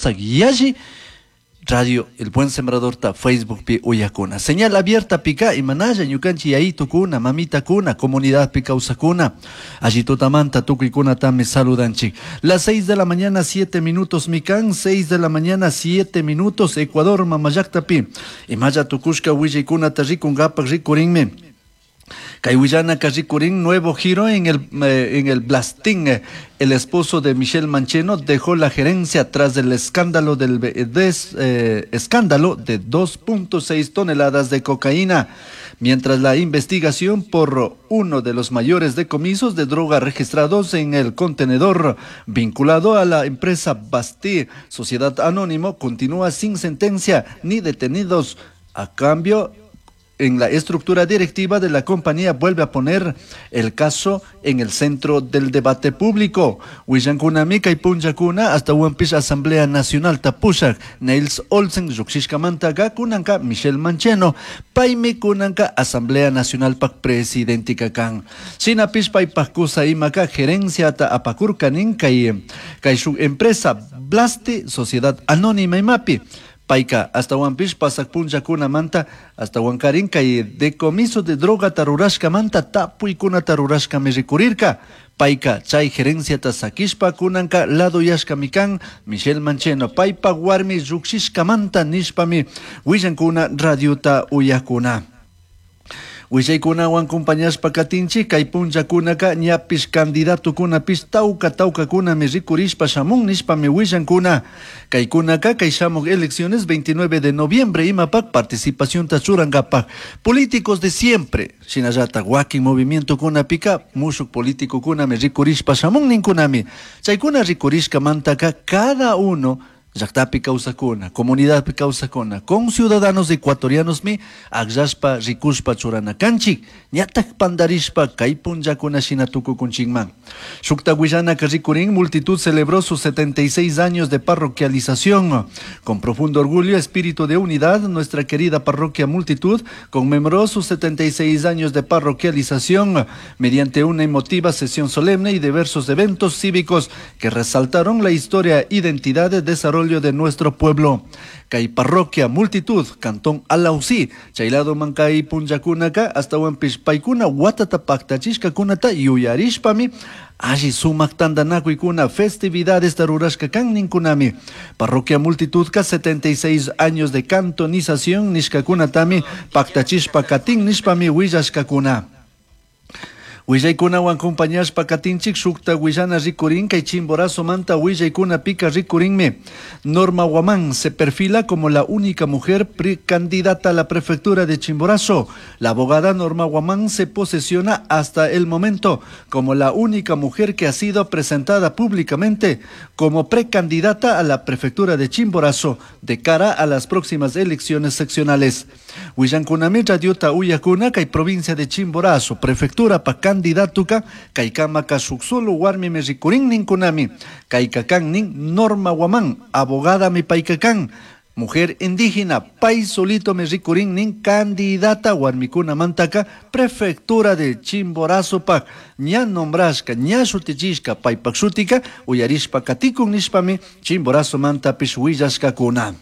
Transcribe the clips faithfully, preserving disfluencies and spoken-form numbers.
Yalli Radio El Buen Sembrador ta Facebook pi uyakuna. Señal abierta pika imanalla ñukanchi yayitukuna, mamitakuna, comunidad pi kawsakuna. Allí tutamanta tukuykuna tami saludanchik. Las seis de la mañana, siete minutos mikan, seis de la mañana, siete minutos, Ecuador, mamallakta pi. Imalla tukushka willaykunata rikunkapak rikurinmi. Kay willanaka rikurin, nuevo giro en el, eh, en el Blasting. El esposo de Michelle Mancheno dejó la gerencia tras el escándalo del des, eh, escándalo de dos punto seis toneladas de cocaína. Mientras la investigación por uno de los mayores decomisos de droga registrados en el contenedor vinculado a la empresa Basti, Sociedad Anónimo, continúa sin sentencia ni detenidos. A cambio, en la estructura directiva de la compañía vuelve a poner el caso en el centro del debate público. Willankuna kay punllakuna hasta Huampish Asamblea Nacional tapushak Niels Olsen llukshishkamantaka kunanka Michelle Mancheno paymi kunanka Asamblea Nacional pak presidentika kan. Shinapish paypak kusa imaka gerenciata apakurkanin kay, kay shuk empresa Blasti Sociedad Anónima imapi. Payka hasta Huampish pasak punllakunamanta hasta Huancarín kay decomiso de droga tarurashkamanta tapuykuna tarurashkami rikurirka. Payka chay gerenciata sakishpa kunanka ladoyashkami kan Michelle Mancheno paypa warmi llukshishkamanta nishpami willankuna radiota uyakuna. Willaykunawan compañashpa katinchik kay punllakunaka ñapish kandidatukunapish tawka tawkakunami rikurishpa shamun nishpami willankuna. Kaykunaka kay shamuk elecciones veintinueve de noviembre imapak participacionta churankapak. Políticos de siempre, shinallatak wakin movimientokunapika mushuk políticokunami rikurishpa shamun ninkunami. Chaykuna rikurishkamantaka cada uno llaktapi kawsakuna, comunidadpi kawsakuna, con ciudadanos ecuatorianos mi akllashpa rikushpa churana kanchik, ñatak pandarishpa kay punllakuna shina tukukunchikman. Shukta willanaka rikurin, multitud celebró sus setenta y seis años de parroquialización. Con profundo orgullo, espíritu de unidad, nuestra querida parroquia Multitud conmemoró sus setenta y seis años de parroquialización mediante una emotiva sesión solemne y diversos eventos cívicos que resaltaron la historia, identidad, desarrollo de nuestro pueblo. Kay parroquia Multitud, Cantón Alausí, Chaylado Mancay Punllakunaka, hasta Huampish paykuna watata paktachishkakunata yuyarishpami, alli sumak tandanakuykuna festividades tarurashka kan ninkunami. Parroquia Multitudka setenta y seis años de cantonización nishkakunatami paktachishpa katin nishpami willashkakuna. Willaykunawan compañashpa katinchik shukta willana rikurin kay Chimborazo manta willaykuna pika rikurinmi. Norma Guamán se perfila como la única mujer precandidata a la prefectura de Chimborazo. La abogada Norma Guamán se posesiona hasta el momento como la única mujer que ha sido presentada públicamente como precandidata a la prefectura de Chimborazo de cara a las próximas elecciones seccionales. Willankunami radiota uyakuna kay provincia de Chimborazo, prefectura pa candidatuka kaykamaka shuk solo warmimi rikurin ninkunami kaykakan nin Norma Guamán, abogada mi paykakan, mujer indígena, pay solito me rikurin nin candidata warmikuna mantaka prefectura de Chimborazo pak ña nombrashka ña shutichishka paypak shutika uyarishpa katikun nishpami Chimborazo mantapish willashkakuna.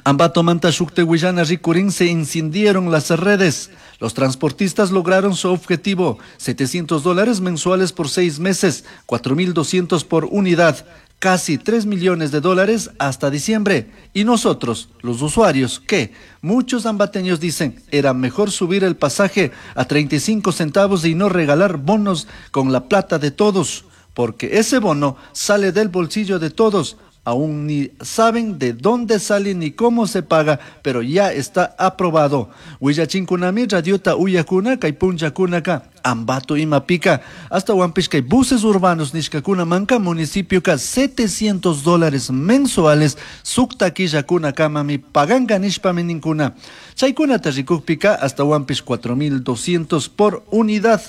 Ambato manta shukte willana rikurin se incendieron las redes. Los transportistas lograron su objetivo, setecientos dólares mensuales por seis meses, cuatro mil doscientos por unidad, casi tres millones de dólares hasta diciembre. Y nosotros, los usuarios, ¿qué? Muchos ambateños dicen, era mejor subir el pasaje a treinta y cinco centavos y no regalar bonos con la plata de todos, porque ese bono sale del bolsillo de todos. Aún ni saben de dónde sale ni cómo se paga, pero ya está aprobado. Willachinkunami, radiota uyakuna, kay punllakunaka, Ambato imapika, hasta Huampish kay buses urbanos nishkakuna manka municipio ka setecientos dólares mensuales, sukta killakuna kamami paganka nishpami ninkuna. Chaykunata rikukpika hasta Huampish cuatro mil doscientos por unidad.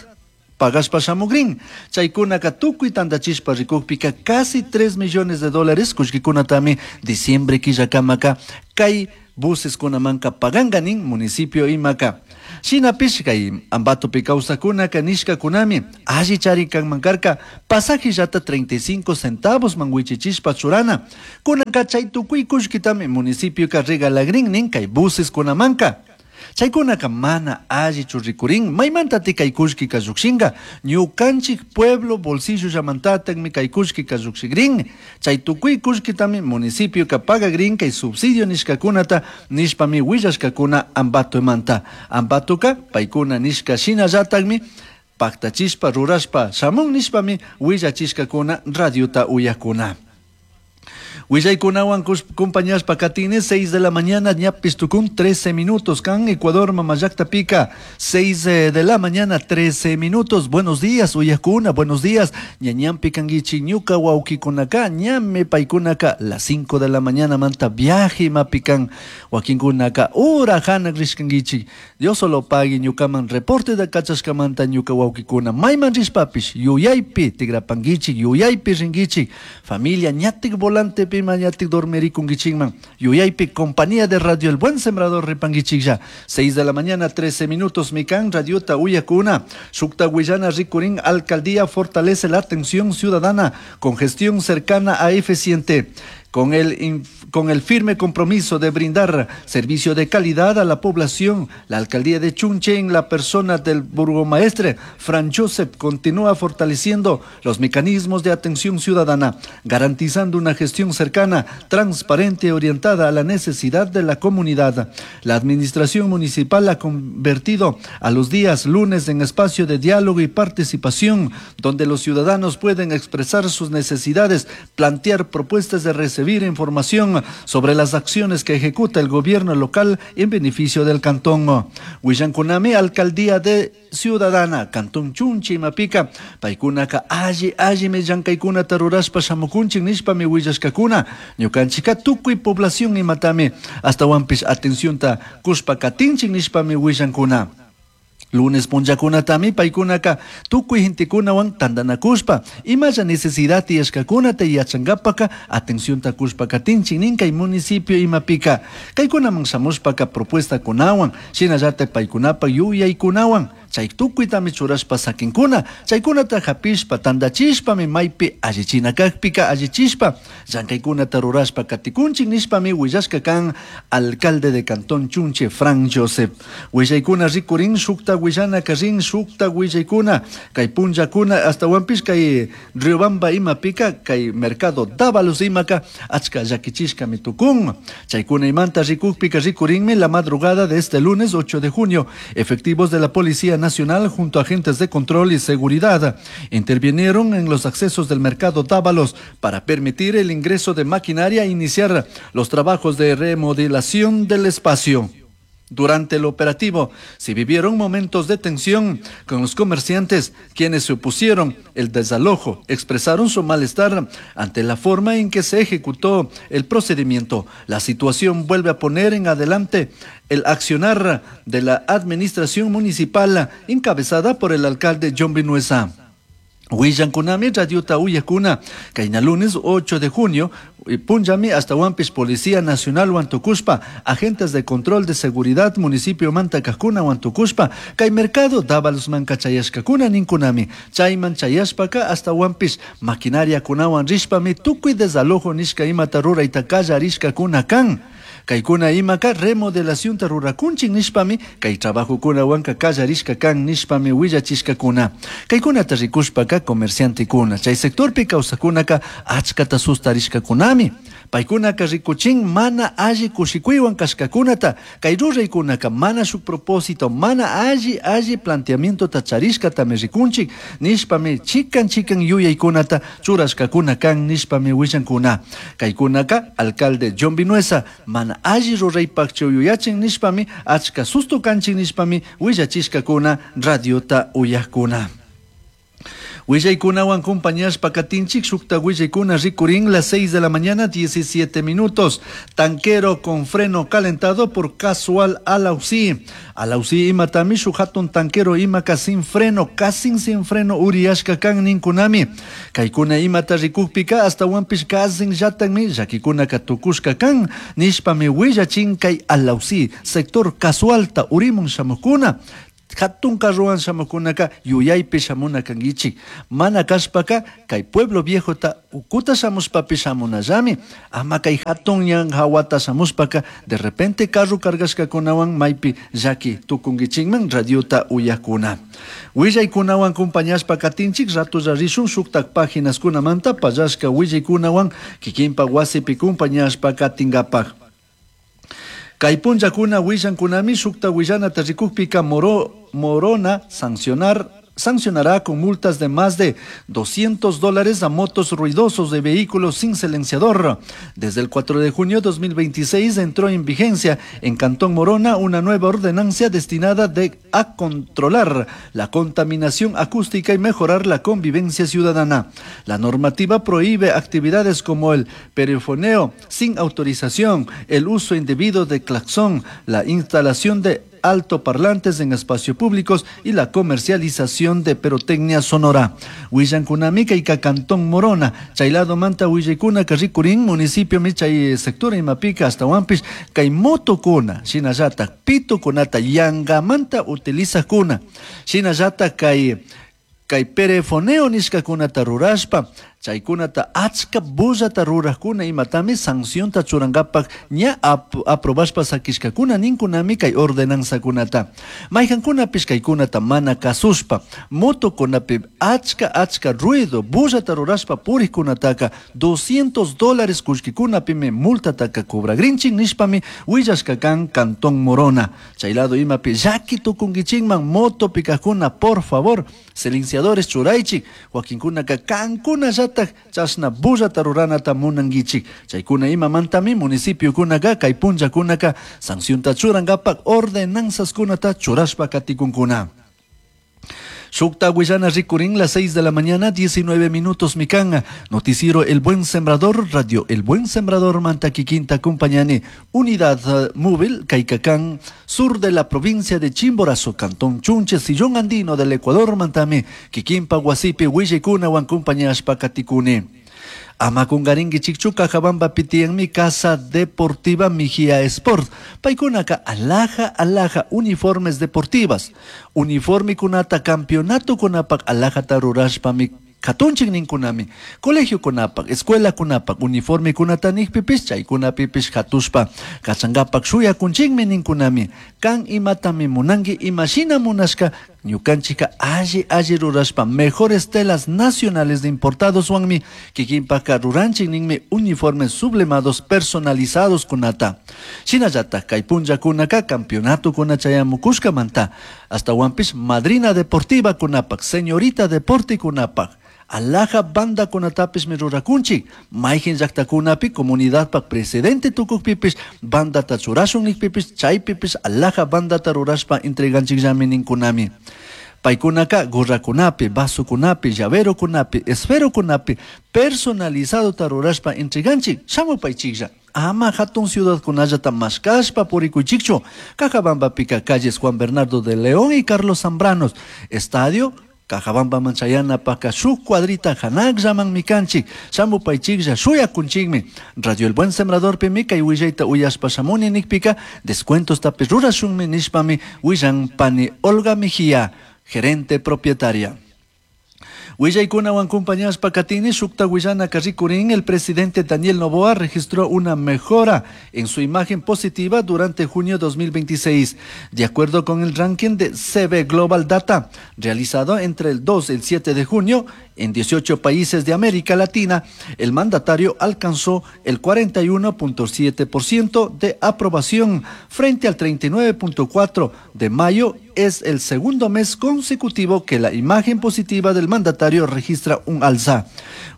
Pagashpa shamugrin. Chaykunaka tukuy tandachishpa rikukpika casi tres millones de dólares kullkikunatami diciembre killakamaka kay Buses kunamanka paganga nin municipio imaka. Shinapish kay Ambatopi kawsakkunaka nishkakunami alli chari kanman karka pasajillata treinta y cinco centavos man wichichishpa churana. Kunanka chay tukuy kullkitami municipioka regalagrin nin kay buses kunamanka. Chaykunaka mana allichu rikurin. Maymantati kay kullkika llukshinka? Ñukanchik pueblo bolsillollamantatakmi kay kullkika llukshikrin. Chay tukuy kullkitami municipioka pagagrin kay subsidio nishkakunata nishpami willashkakuna Ambatomanta. Ambatoka paykuna nishka shinallatakmi paktachishpa rurashpa shamun nishpami willachishkakuna radiota uyakuna. Willaykunawan compañashpa katini, seis de la mañana ñapis tukun trece minutos kan Ecuador mamallakta pika, seis eh, de la mañana trece minutos. Buenos días, uyakuna, buenos días. Ñañampi kanguichi ñuka wawkikunaka, ñame paykunaka las cinco de la mañana manta viaje mapikan wakinkunaka ura hanak rishkanguichi. Dios solo pague ñukaman reporte de kachashkamanta ñuka wawkikuna mayman rishpapish yuyaypi tigrapanguichi, yuyaypi ringuichi. Familia, ñatik volante mañatik dormirikunkichikman yuyaypi compañía de Radio El Buen Sembrador ripanguichiklla. seis de la mañana trece minutos mikan radiota uyakuna. Shukta willana rikurin: alcaldía fortalece la atención ciudadana con gestión cercana a eficiente. Con el, con el firme compromiso de brindar servicio de calidad a la población, la alcaldía de Chunche, en la persona del burgomaestre Fran Joseph, continúa fortaleciendo los mecanismos de atención ciudadana, garantizando una gestión cercana, transparente y orientada a la necesidad de la comunidad. La administración municipal ha convertido a los días lunes en espacio de diálogo y participación, donde los ciudadanos pueden expresar sus necesidades, plantear propuestas de recibir información sobre las acciones que ejecuta el gobierno local en beneficio del cantón. Willankunami alcaldía de Ciudadana, Cantón Chunche imapika, paykunaka alli allimi llankaykunata rurashpa shamukunchik nishpami willashkakuna. Ñukanchika tukuy población imatami astawanpish atencionta kushpa katinchik nishpami willankuna. Lunes punllakunatami paykunaka tukuy gentekunawan tantanakushpa imalla necesidad tiyashkakunata yachankapaka atencionta kushpa katinchik nin kay municipio imapika. Kaykunaman shamushpaka propuestakunawan shinallatak paykunapa yuyaykunawan chay tukuytami churashpa sakinkuna. Chaykunata hapishpa tantachishpami maypi allichina kakpika allichishpa llankaykunata rurashpa katikunchik nishpami willashka kan alcalde de Cantón Chunche, Frank Joseph. Willaykuna rikurin. Shukta willana rin shukta willaykuna kay punllakuna astawanpish kay Riobamba imapika kay mercado Dávalos imaka achka llakichishkami tukun. Chaykuna imanta rikukpika rikurinmi la madrugada de este lunes ocho de junio, efectivos de la Policía Nacional junto a agentes de control y seguridad intervinieron en los accesos del mercado Dávalos para permitir el ingreso de maquinaria e iniciar los trabajos de remodelación del espacio. Durante el operativo se vivieron momentos de tensión con los comerciantes, quienes se opusieron el desalojo, expresaron su malestar ante la forma en que se ejecutó el procedimiento. La situación vuelve a poner en adelante el accionar de la administración municipal encabezada por el alcalde John Vinuesa. Willankunami radiota uyakuna, kayna lunes ocho de junio, punllami astawanpish Policía Nacional wantukushpa, agentes de control de seguridad municipio manta kajkuna wantukushpa, kay mercado Dávalosmanka chayashkakuna ninkunami. Chayman chayashpaka astawanpish maquinaria kunawan rishpami tukuy desalojo nishka imata rurayta kallarishkakuna kan. Kaykuna imaka remodelacionta rurakunchik nishpami kay trabajokunawanka kallarishka kan nishpami willachishkakuna. Kaykunata rikushpaka comerciantekuna chay sectorpi kawsakunaka achkata sustarishkakunami. Paykunaka rikuchin mana alli kushikuywan kashkakunata. Kay ruraykunaka mana shuk propósito, mana alli alli planteamientota charishkatami rikunchik nishpami chikan chikan yuyaykunata churashkakuna kan nishpami willankuna. Kaykunaka alcalde John Vinuesa mana alli ruraypakchu yuyachin nishpami achka susto kanchik nishpami willachishkakuna radiota uyakuna. Willaykunawan compañashpa katinchik shukta willaykuna rikurin las seis de la mañana diecisiete minutos. Tanquero con freno calentado por casual Alausí. Alausí imatami shuk hatun tanquero imaka sin freno, casi sin freno uriyashka kan ninkunami. Kaykuna imata rikukpika hasta wanpish kasin llatanmi llakikunaka tukushka kan nishpami willachin kay Alausí sector casualta urimun shamukuna. Hatun carruwan shamukunaka yuyaypi shamuna kankichik. Mana kashpaka kay pueblo viejota ukuta shamushpapi shamunallami. Ama kay hatun ñan hawata shamushpaka de repente carro cargashkakunawan maypi llaki tukunkichikman radiota uyakuna. Willaykunawan compañashpa katinchik ratolla rishun shuktak paginaskunamanta pallashka willaykunawan kikinpa wasipi compañashpa katinkapak. Kay punllakuna willankunami shukta willanata rikukpika Moro, Morona sancionar, sancionará con multas de más de doscientos dólares a motos ruidosos de vehículos sin silenciador. Desde el cuatro de junio de dos mil veintiséis entró en vigencia en Cantón Morona una nueva ordenancia destinada de, a controlar la contaminación acústica y mejorar la convivencia ciudadana. La normativa prohíbe actividades como el perifoneo sin autorización, el uso indebido de claxon, la instalación de altoparlantes en espacios públicos y la comercialización de pirotecnia sonora. Willankunami kayka Cantón Morona, chaylado manta willaykuna karrikurin municipio michay sector imapika hasta wampis kay motokuna, shinallata pitokunata yangamanta utilizakuna, shinallata kay kay perefoneo nishkakunata rurashpa, chaykunata achka bullata rurajkuna imatami sancionta churankapak ña ap-, aprobashpa sakishkakuna ninkunami kay ordenanzakunata. Mayjankunapish kaykunata mana kasushpa, motokunapi achka achka ruido bullata rurashpa purikkunataka doscientos dólares kullkikunapimi multataka cobragrinchin nishpami willashka kan Cantón Morona. Chay lado imapi llaki tukunkichinman motopikakuna, por favor, silenciadores churaychik, wakinkunaka kankuna llata chashna bullata ruranata munankichik. Chaykuna imamantami municipiokunaka kay punllakunaka sancionta churankapak ordenanzaskunata churashpa katikunkuna. Shukta willana rikurin las seis de la mañana, diecinueve minutos mikan. Noticiero El Buen Sembrador, Radio El Buen Sembrador, Mantaquiquinta, Compañani, Unidad, eh, Móvil, Caicacán, sur de la provincia de Chimborazo, Cantón Chunche, Sillón Andino del Ecuador, Mantame, Kikinpa, Guasipe, Huillecuna, Huancumpañashpa, Katikune. Amakungaringi chikchuka Cajabamba pitian mi casa deportiva Mijía Sport. Paikunaka alhaja alhaja uniformes deportivas. Uniforme kunata campeonato kunapak alhaja tarurashpa mi katunchik ninkunami. Colegio kunapak, escuela kunapak, uniforme kunata nikpipis, chaykunapipis katushpa. Kachangapak shuyakunchikmi ninkunami. Kan imatami munangi imashina munashka ñukanchika alli alli rurashpa mejores telas nacionales de importados wanmi kikinpaka ruranchik ninmi uniformes sublimados personalizados kunata. Shinallata kay punllakunaka campeonato kuna chayamukushkamanta hasta wampis madrina deportiva kunapak, señorita deporte kunapak. Alhaja banda kunatapis mi rurakunchik, mayqin llaqtakunapi comunidadpak presidente tukukpipis bandata churashun nikpipis chaypipis alhaja bandata rurashpa entreganchikllami ninkunami. Paykunaka gorrakunapi, vasokunapi, llaverokunapi, esferokunapi personalizado rurashpa entreganchik, shamupaychiklla. Ama hatun ciudadkunallata mashkashpa purikuychikchu. Cajabambapika calles Juan Bernardo de León y Carlos Zambranos, estadio Cajabamba manchayana paka shuk cuadrita hanak llaman mikanchik, shamupaychiklla shuyakunchikmi. Radio El Buen Sembrador pimika y willayta uyashpa shamuni nikpika, descuentos tapi rurashunmi nishpami willan pani Olga Mejía, gerente propietaria. Willaykunawan compañashpa katini shukta willana karrikurin, el presidente Daniel Noboa registró una mejora en su imagen positiva durante junio dos mil veintiséis, de acuerdo con el ranking de C B Global Data, realizado entre el dos y el siete de junio. En dieciocho países de América Latina, el mandatario alcanzó el cuarenta y uno punto siete por ciento de aprobación frente al treinta y nueve punto cuatro por ciento de mayo. Es el segundo mes consecutivo que la imagen positiva del mandatario registra un alza.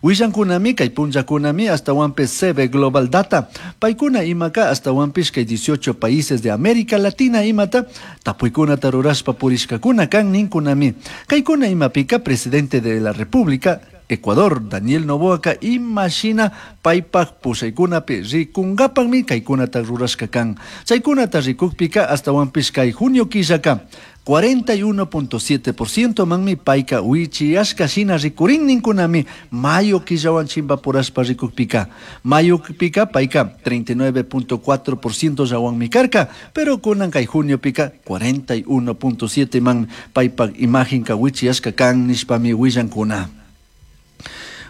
Willankunami kay punllakunami hasta C B Global Data. Paykuna imaka hasta kay dieciocho países de América Latina imata tapuykuna tarurashpa purishkakuna kan ninkunami. Kaykuna imapika presidente de la República Ecuador, Daniel Noboaka, imashina paypak pushaykunapi rikunkapanmi kaykunata rurashka kan. Chaykunata rikukpika hasta kay junio killaka cuarenta y uno punto siete por ciento manmi payka wichiyashka shina rikurin ninkunami mayo killawan chimpapurashpa rikukpika. Mayo pika payka treinta y nueve punto cuatro por ciento yawanmi karka, pero kunan kay junio pika cuarenta y uno punto siete man paypak imagenka wichiyashka kan nishpami willankuna.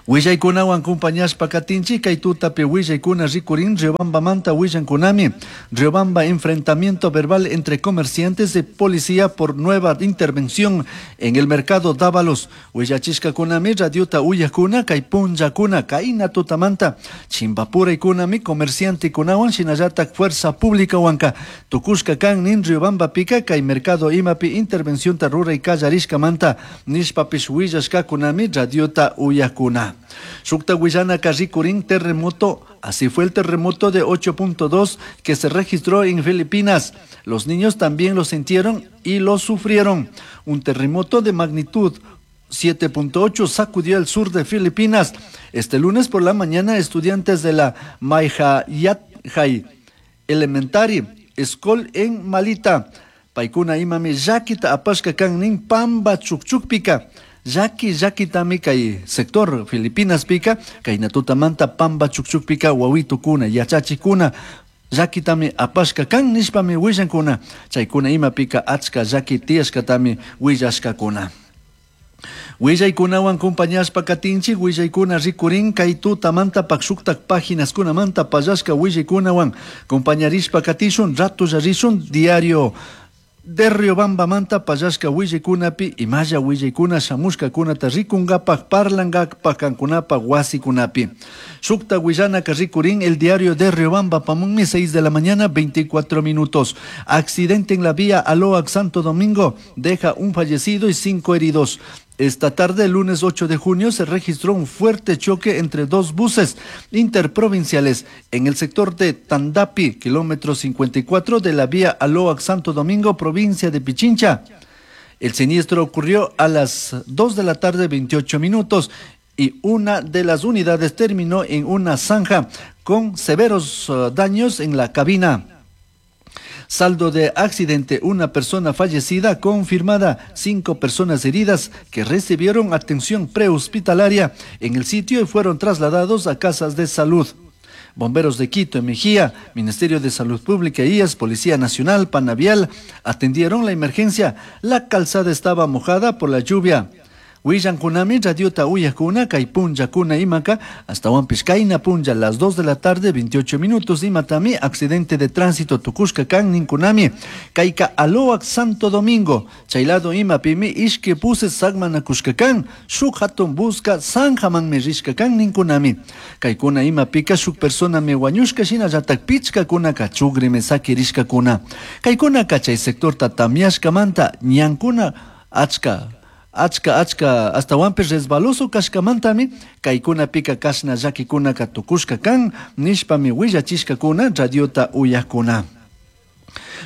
Willaykunawan compañashpa katinchik kay tutapi willaykuna rikurin Riobambamanta willankunami. Riobamba, enfrentamiento verbal entre comerciantes y policía por nueva intervención en el mercado Dávalos. Willachishkakunami radiota uyakuna kay punllakuna kayna tutamanta chimpapuraykunami comerciante kunawan shinallatak fuerza pública wanka tukushka kan nin Riobamba pika kay mercado imapi intervención ta ruray kallarishkamanta nishpapish willashkakunami radiota uyakuna. Shukta willana rikurin terremoto. Así fue el terremoto de ocho punto dos que se registró en Filipinas. Los niños también lo sintieron y lo sufrieron. Un terremoto de magnitud siete punto ocho sacudió el sur de Filipinas. Este lunes por la mañana, estudiantes de la Maihayathay Elementary School en Malita, paykuna imami llakita apashka kan nin pamba chukchukpika. Yaki yaki kay sector Filipinas pika, kay natutamanta pamba chukchukpika wawitukuna, yachachikuna, llakitami apashka kan nishpami willankuna, chaykuna imapika achka llaki tiyashkatami willashkakuna. Willaykunawan compañashpa katinchik, willaykuna rikurin kay tutamanta pakshuktak páginaskunamanta pallashka willaykunawan compañarishpa katishun, ratulla rishun diario de Riobamba manta pallashka willaykunapi imalla willaykuna shamushkakunata rikunkapak parlankapak kankunapak wasikunapi. Shukta willanaka rikurin el diario de Riobamba pamunmi seis de la mañana veinticuatro minutos. Accidente en la vía Aloac Santo Domingo deja un fallecido y cinco heridos. Esta tarde, lunes ocho de junio, se registró un fuerte choque entre dos buses interprovinciales en el sector de Tandapi, kilómetro cincuenta y cuatro de la vía Aloac Santo Domingo, provincia de Pichincha. El siniestro ocurrió a las dos de la tarde, veintiocho minutos, y una de las unidades terminó en una zanja con severos daños en la cabina. Saldo de accidente, una persona fallecida confirmada, cinco personas heridas que recibieron atención prehospitalaria en el sitio y fueron trasladados a casas de salud. Bomberos de Quito, Mejía, Ministerio de Salud Pública, I E S, Policía Nacional, Panavial, atendieron la emergencia. La calzada estaba mojada por la lluvia. Willankunami, radiota uyakuna, kay punllakuna imaka, hasta Huampishkaina punlla, las dos de la tarde, veintiocho minutos, imatami, accidente de tránsito, tukushka kan ninkunami, kayka Aloac Santo Domingo, chaylado imapimi, ishke puse sagmanakushka kan, shuk hatun busca, sanjaman rishka kan ninkunami, kaykuna imapika, shuk persona me wañushka shina yatak pichka kunaka, chugrime sakirishka kuna, kaykuna kachay sector tatamiashka manta, ñankuna, achka, Achka, achka, hasta huampes resbaloso kashkamantami, kaykuna pika kashna llakikuna katukushka kan, nishpami willachishkakuna, radiota uyakuna.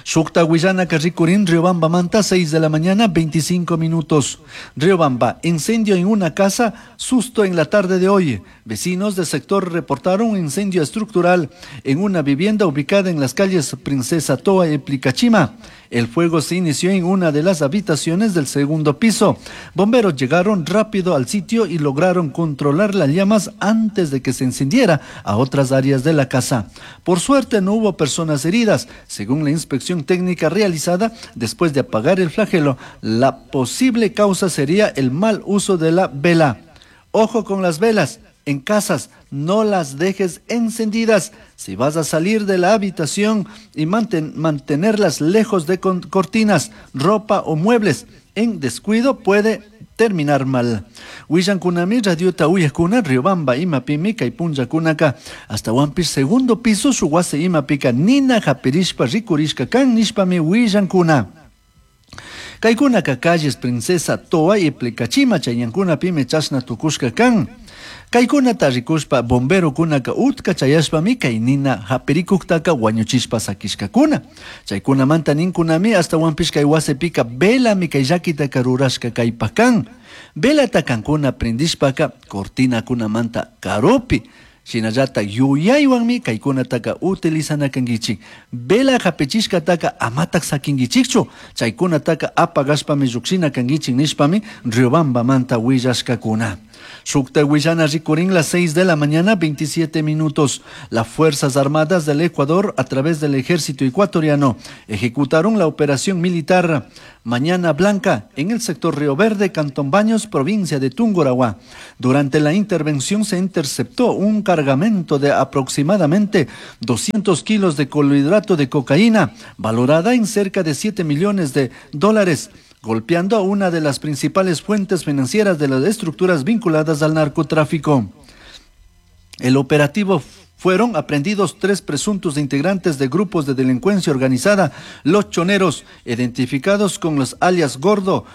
Shukta willanaka rikurin Riobamba manta, seis de la mañana, veinticinco minutos. Riobamba, incendio en una casa, susto en la tarde de hoy. Vecinos del sector reportaron un incendio estructural en una vivienda ubicada en las calles Princesa Toa y Plicachima. El fuego se inició en una de las habitaciones del segundo piso. Bomberos llegaron rápido al sitio y lograron controlar las llamas antes de que se encendiera a otras áreas de la casa. Por suerte no hubo personas heridas. Según la inspección técnica realizada después de apagar el flagelo, la posible causa sería el mal uso de la vela. Ojo con las velas. En casas, no las dejes encendidas. Si vas a salir de la habitación y manten-, mantenerlas lejos de con-, cortinas, ropa o muebles, en descuido puede terminar mal. Willankunami radiota uyakuna Riobamba imapimi kay punllakunaka hasta segundo piso shuk wasi imapika nina hapirishpa rikurishka kan nishpami willankuna. Kaykunaka calles Princesa Toa y Plecachima chayñankunapimi chashna tukushka kan. Kaykunata rikushpa bomberokunaka utka chayashpami kay nina hapirikuktaka wañuchishpa sakishkakuna. Chaykunamanta ninkunami hasta kay wasipika velami kay llakitaka rurashka kaypak kan. Velata kankuna prendishpaka cortinakunamanta karupi. Shinallata yuyaywanmi kaykunataka utilizana kankichik. Vela hapichishkataka amatak sakinkichikchu. Chaykunataka apagashpami llukshina kankichik nishpami Riobambamanta willashkakuna. Shukta willana rikurin las seis de la mañana, veintisiete minutos. Las Fuerzas Armadas del Ecuador, a través del Ejército Ecuatoriano, ejecutaron la operación militar Mañana Blanca en el sector Río Verde, Cantón Baños, provincia de Tungurahua. Durante la intervención se interceptó un cargamento de aproximadamente doscientos kilos de clorhidrato de cocaína, valorada en cerca de siete millones de dólares, golpeando a una de las principales fuentes financieras de las estructuras vinculadas al narcotráfico. El operativo fueron aprehendidos tres presuntos integrantes de grupos de delincuencia organizada, los choneros, identificados con los alias Gordo,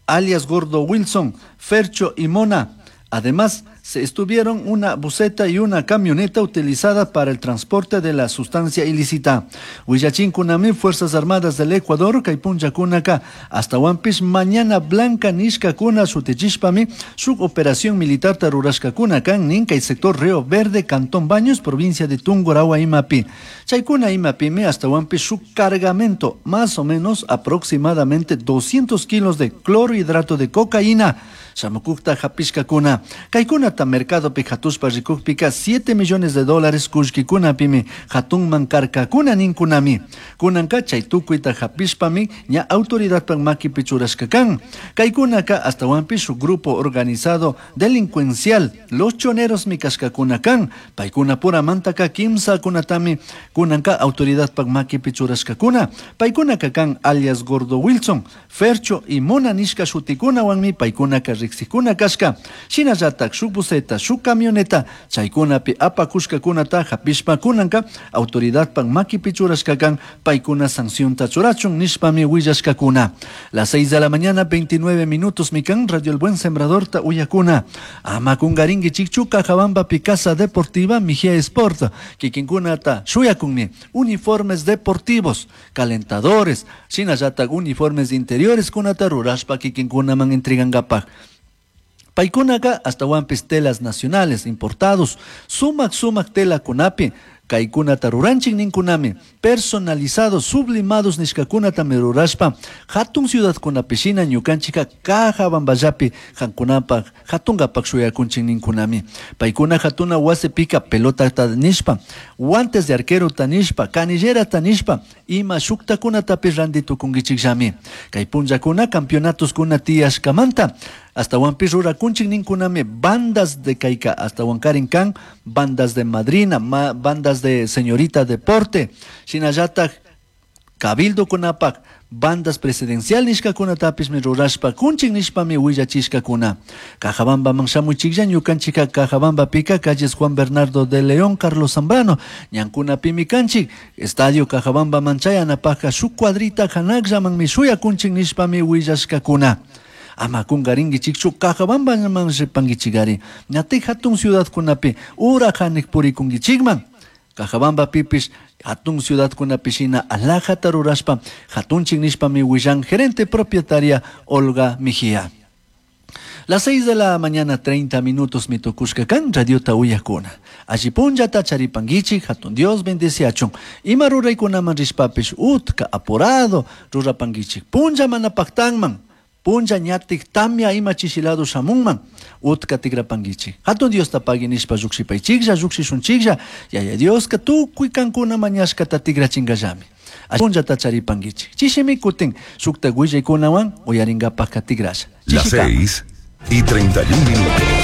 alias Gordo Wilson, Fercho y Mona. Además, se estuvieron una buseta y una camioneta utilizada para el transporte de la sustancia ilícita. Huillachinkunami, Fuerzas Armadas del Ecuador, Kaypunchakunaka, hasta Huampis, Mañana Blanca, Nishkakuna, Sutichishpami, su operación militar Tarurashkakuna, kan Ninka y sector Río Verde, Cantón Baños, provincia de Tungurahua, Imapi. Chaykuna Imapime, hasta Huampis, su cargamento, más o menos aproximadamente doscientos kilos de clorhidrato de cocaína. Shamukukta hapishkakuna. Kaykunata mercado pi hatushpa rikukpika siete millones de dólares kullkikunapimi hatunman karkakuna ninkunami. Kunanka chay tukuyta hapishpami ña autoridadpak makipi churashka kan. Kaykunaka hasta su grupo organizado delincuencial los choneros mi kashkakuna kan. Paykuna puramantaka kimsakunatami kunanka autoridadpak makipi churashkakuna. Paykunaka kan alias Gordo Wilson, Fercho y Mona nishka shutikunawanmi paykunaka riksikuna kashka. Shinallatak shuk buseta, shuk camioneta, chaykunapi apakushkakunata hapishpa kunanka autoridadpak makipi churashka kan paykuna sancionta churachun nishpami willashkakuna. Las seis de la mañana, veintinueve minutos, mikan Radio El Buen Sembrador ta uyakuna. Ama kungaringi chikchu Cajabamba Picasa Deportiva Mejía Sport, kikinkunata shuyakunmi uniformes deportivos, calentadores, shinallatak uniformes interiores kunata rurashpa kikinkunaman entregankapaj. Paykunaka hasta wampis telas nacionales importados, sumak sumak tela kunapi, kaykunata ruranchik ninkunami, personalizados, sublimados nishkakunata mirurashpa, hatun ciudadkunapishina ñukanchika Cajabamballapi hankunapaj, hatunkapak shuyakunchik ninkunami. Paykuna hatuna wasipika pelotata nishpa, guantes de arquero nishpa, canillerata nishpa, ima shuktakunatapish ranti tukunkichikllami. Kay punllakuna campeonatoskuna tiyashkamanta, hasta wampi rurakunchik ninkunami bandas de kayka, hasta wankarin kan, bandas de madrina, ma, bandas de señorita deporte, shinallatak cabildo kunapak, bandas presidencial nishkakunatapis mi rurashpa kunchik nishpami willachishkakuna. Cajabamba man shamuchiklla ñukanchika Cajabamba pika calles Juan Bernardo de León, Carlos Zambrano, ñankunapimi kanchik, estadio Cajabamba manchayanapajka shuk cuadrita hanakllaman mi shuyakunchik nishpami willashkakuna. Ama kungarinkichikchu Cajabamba man ripankichikari. Ñati hatun ciudadkunapi ura hanik purikunkichikman. Cajabamba pipis hatun ciudadkunapishina alajata rurashpa hatunchik nishpami willan gerente propietaria Olga Mejía. Las seis de la mañana, treinta minutos, mi tukushka kan radiota uyakuna. Allipunllata charipanguichik, hatun Dios bendeciachun. Ima ruraykunaman rishpapish utka apurado rurapanguichik. Punlla manapaktanman. Punlla ñatik tamia ima chishilado shamunman. Utka tigrapanguichik. Hatun Dios tapagui nishpa llukshipaychiklla, llukshishunchiklla. Yaya Dioska tukuy kankuna mañashkata tigrachingallami. Punllata charipanguichik. Chishimi kutin shukta willaykunawan uyarinkapak tigrasha. Las seis y treinta y un minutos.